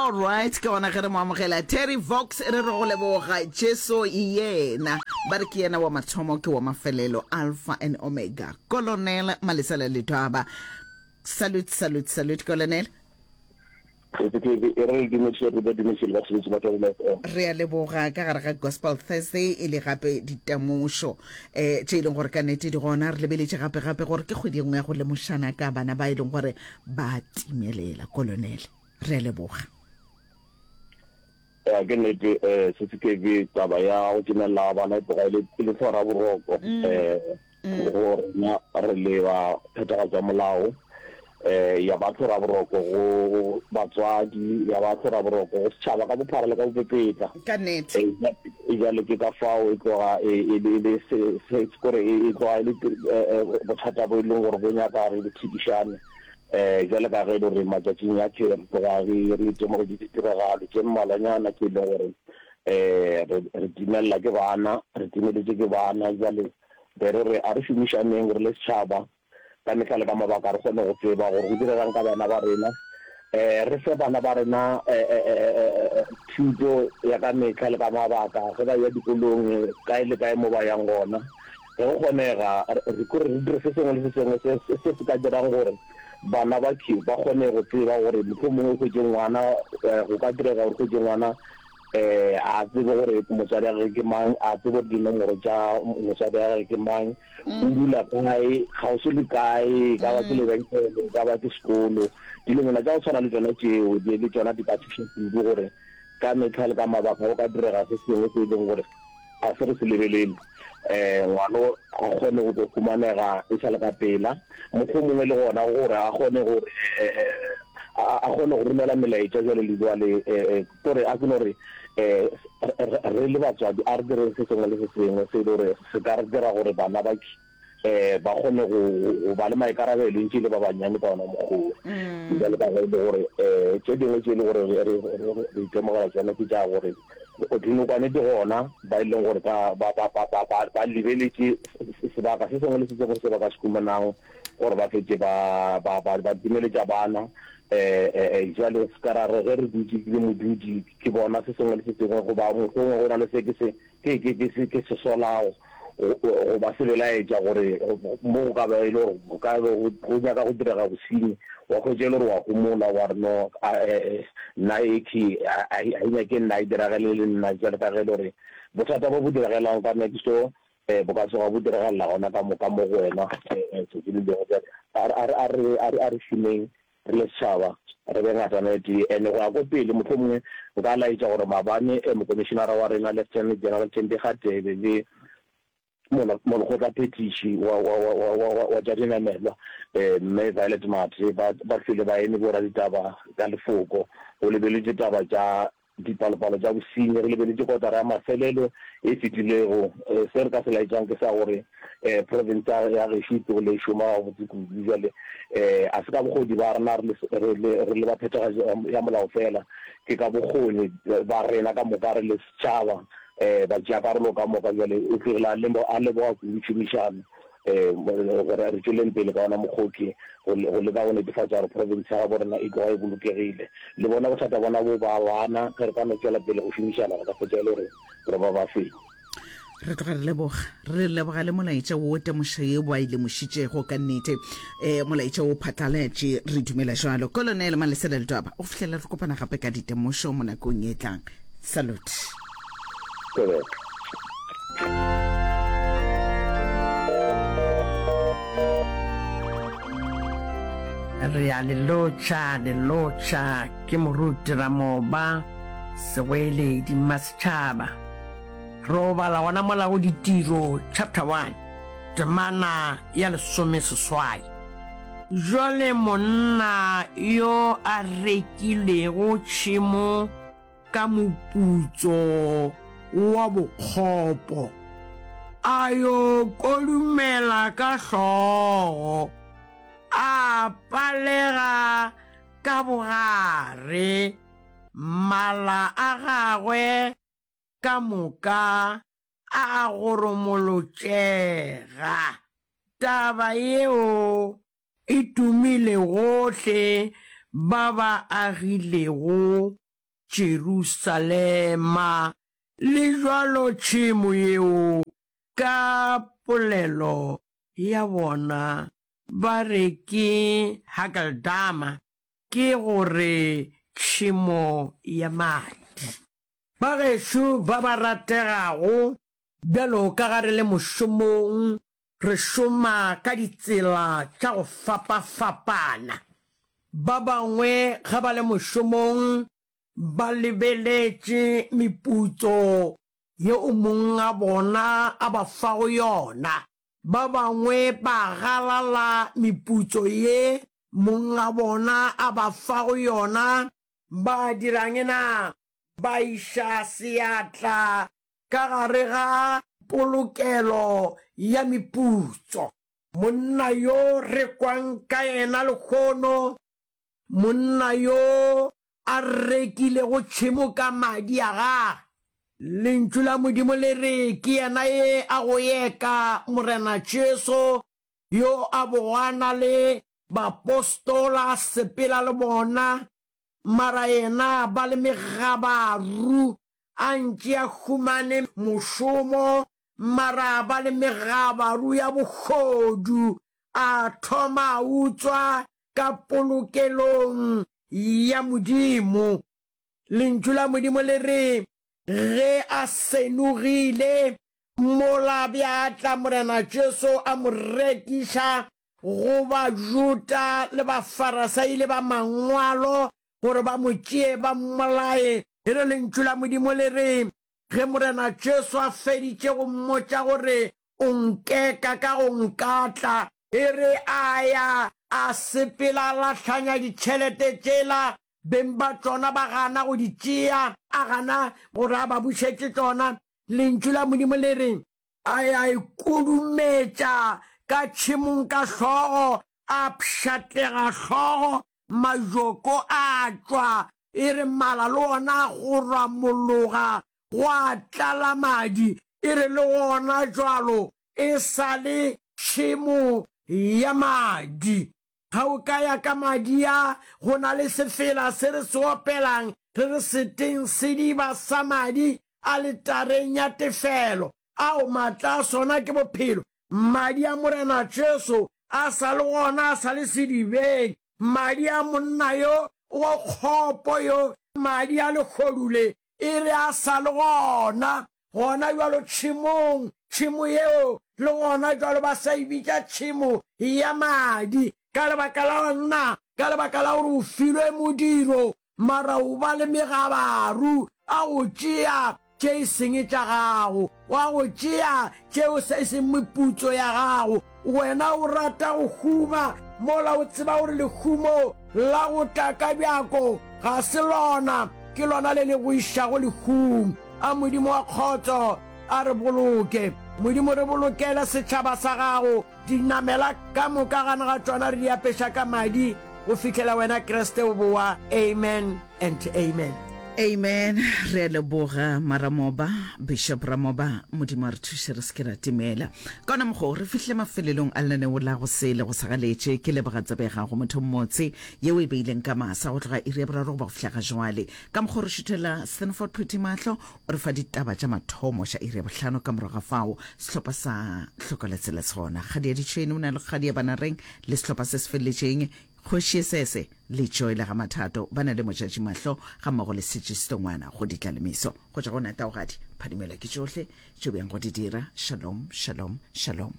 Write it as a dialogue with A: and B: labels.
A: All right, ke gona ge re mo amogela Terry Vox re re go leboga Jesu yena ba re ke yena wa mathomo ke wa mafelelo Alpha and Omega Colonel Malesela Letwaba salute salute salute Colonel
B: E re le dumediše re ba dumediše le batheletši ba Thobela FM.
A: Re a leboga ka gare ga Gospel Thursday e le gape ditemošo um tše e leng gore ka nnete di gona. Re lebeletše gape gape gore ke kgwedi e nngwe ya go lemošana ka bana ba e leng gore ba timelela. Kolonele, re a leboga.
B: Ya ke nnete um se se kebe taba ya go timelela ga bana e tloga e le e le tlhora boroko um go rena re le ba phethagatšo ya molao um ya ba tlhora boroko go batswadi ya ba tlhora boroko go setšhaba ka bophara le ka bopepetla
A: Ka nnete.
B: E bjale ke ka fao e tloga e e le e le se se kore e e tloga e le bothata bo e leng gore bo nyaka re bo thikišane. Um bjale ka ge e le gore matšatšing a tše re tloga re re itemogetše ditiragalo tše mmalwanyana tše e leng gore um re re timelela ke bana, re timeletše ke bana. Bjale be re re a re šomišaneng re le setšhaba ka mehla le ka mabaka re kgone go tseba gore go diregang ka bana ba rena. Um re fe bana ba rena thuto ya ka mehla le ka mabaka ge ba eya dikolong kae le kae mo ba yang gona. Ge go kgonega, re kore re dire se sengwe le se sengwe se se se ka dirang gore bana ba ke ba kgone go tseba gore mohlomongwe o hwetše ngwana, go ka direga gore o hwetše ngwana a tsebe gore motswadi wa gagwe ke mang, a tsebe gore dinomoro tša motswadi wa gagwe ke mang, o dula kae, kgauswi le kae, e ka ba ke lebenkele, e ka ba ke sekolo. Dilonyana tša go tshwana le tšona tšeo, le tšona di ka thuša kudu gore ka mehla le ka mabaka go ka direga se sengwe se e leng gore ga se re se lebelele, um ngwano a kgone go tlo humanega e sa le ka pela, mohlomongwe le gona gore a kgone gore a kgone go romela melaetša jwale le jwale, kore a ke no re um re le batswadi a re direng se sengwe le se sengwe se e le gore se ka re dira gore bana ba um ba kgone go go ba le maikarabelo ntše e le ba bannyane ka ona mokgwa wo. Bjale ka ge e le gore um tše dingwe tše e le gore re re re itemogela tšona ke tša gore dinokwane di gona ba e leng gore ba ba ba ba ba ba ba lebeletše sebaka se sengwe le se sengwe se ba ka se humanago gore ba fetše ba ba ba ba timeletša bana um jwale se ka ra re ge re dutše ke le modudi ke bona se sengwe le se sengwe goba mohlomongwe go na le se ke se Ke, ke, ke se, ke se solago go, goba se belaetša gore mo go ka ba e le gore go ka be go, go nyaka go direga bosenyi, wa hwetša e le gore wa homola, wa re no, a, e, e, nna e ke, a, a, a e nyake nna e diragele le nna, bjalo ka ge e le gore bothata bo bo diregelang ka next door, e, bo ka tsoga bo diregelela gona ka mo, ka mo go wena, e, e, tšatši le lengwe. Bjale a, a, a re, a re, a re šomeng re le setšhaba, re be ngatana e tee. And go ya ko pele, mohlomongwe nka laetša gore maabane Mokomišenara wa rena Lieutenant General Thembi Kgatebe le Molekgotlaphethiši wa, wa, wa, wa, wa, wa, wa tša dinamelwa Mme Violet Mathe ba, ba hlwele ba eme boraditaba ka lefoko go lebeletšwe taba tša Dipalopalo tša bosenyi, re lebeletše kotara ya mafelelo e fetilego, se re ka se laetšang ke sa gore profense ya gešo e tlogile e šoma gabotse kudu. Bjale a se ka bokgoni ba rena re le re le ba phethagatšo ya molao fela, ke ka bokgoni ba rena ka moka re le setšhaba, batšeakarolo ka moka. Bjale o tlogile a leboga kudu tšhomišano gore re tšweleng pele ka ona mokgoki go, go leka go netefatša gore profense ya gabo rena e tloga e bolokegile. Le bona bothata bona bo ba bana, ge re ka no tšwela pele go šomišana re ka hwetša e le gore re ba ba fenyi.
A: Re tloga re leboga, re leboga le molaetša wo temošo ye ba e lemošitšego ka nnete. Um molaetša wo phatlalatše, re dumela jwalo. Kolonele Malesela Ledwaba, go fihlela re kopana gape ka ditemošo mo nakong e tlang. Salute.
B: Correct.
C: Re a le lotšha, le lotšha, ke Moruti Ramoba, Segoeledi, Mmasetšhaba. Re o bala gona mola go Ditiro chapter 1, temana ya lesomeseswai. Jwale monna yo a rekilego tšhemo ka moputso wa bokgopo, a yo kodumela ka hlogo, a palega ka bogare, mala a gagwe ka moka a a goromolotšega. Taba yeo e tumile gohle ba ba agilego. Jerusalema. Le bjalo tšhemo yeo ka polelo ya bona ba re ke Hakeldama, ke go re tšhemo ya madi. Bagešo ba ba rategago, bjalo ka ga re le mošomong, re šoma ka ditsela tša go fapafapana. Ba bangwe ge ba le mošomong ba lebeletše meputso yeo mong a bona a ba fago yona. Ba bangwe ba galala meputso ye mong a bona a ba fago yona. Ba dira'ng na? Ba iša seatla ka gare ga polokelo ya meputso. Monna yo re kwang ka yena lehono, monna yo a rekilego tšhemo ka madi a gagwe. Lentšu la Modimo le re ke yena ye a go eka Morena Jesu, yo a bogo a na le baapostola a sepela le bona, mara yena ba le megabaru, a ntše a humane mošomo, mara ba le megabaru ya bohodu, a thoma a utswa ka polokelong ya Modimo. Lentšu la Modimo le re, Ge a senogile, mola bja tla Morena Jesu a mo rekiša go Bajuda le Bafarasai le bamangwalo gore ba mo tšee ba mmolaye. E re Lentšu la Modimo le re, Ge Morena Jesu a feditše go mmotša gore o nkeka ka go nkatla, e re a ya a sepela a lahlanya ditšhelete tšela, beng ba tšona ba gana go di tšea, a gana gore a ba bušetše tšona. Lentšu la Modimo le re, A ya a ikudumetša ka tšhemong ka hlogo, a pšhatlega hlogo, majoko a tšwa, e re mala le ona a goramologa, gwa tlala madi, e re le gona jwalo e sa le tšhemo ya madi. Ga o ka ya ka madi a, go na le sefela se re se opelang, re re seteng sediba sa madi aletareng ya tefelo. Ao, maatla a sona ke bophelo. Madi a Morena Jesu a sa le gona, a sa le sedibeng. Madi a monna yo wa kgopo yo, madi a lehodu le, e re a sa le gona, gona bjalo tšhemong, tšhemo yeo le gona bjalo ba sa e bitša tšhemo ya madi, ka lebaka la nna, ka lebaka la gore o filwe modiro, mara o ba le megabaru a go tšea tše e seng tša gago, wa go tšea tšeo e seng meputso ya gago. Wena o rata go huma, mola o tseba gore lehumo la go tla ka bjako ga se lona, ke lona le le go išago lehung. A Modimo wa kgotso a re boloke. Modimo, re bolokele setšhaba sa gago. Dinamela ka moka gane ga tšona re di apeša ka madi go fihlela wena Kriste o bowa. Amen and amen.
A: Amen re a leboga Maramoba, Bishop Ramoba, Modimo a re thuše re se ke ra timela. Ka ona mokgwa o re fihlile mafelelong a lenaneo la go sele go sa galetše. Ke leboga tsebe ya gago motho mmotse yeo e beileng ka masa go tloga iri ya boraro go ba go fihla ga jwale. Ka mokgwa o re šuthela Stanford Phuthi mahlo o re fa ditaba tša mathomo tša iri ya bohlano ka morago ga fao sehlopha sa Hloka Letsela se gona. Kgadi ya Ditšhwene o na le kgadi ya Banareng le sehlopha se se feleletšeng Kgoši Esese le Joy le ga Mathato ba na le Motšatši Mahlo ga mmogo le Setši Setongwana go ditlalemiso. Go tšwa go Nataogadi, phadimela ke tšohle tšeo bjang go di dira. Shalom, shalom, shalom.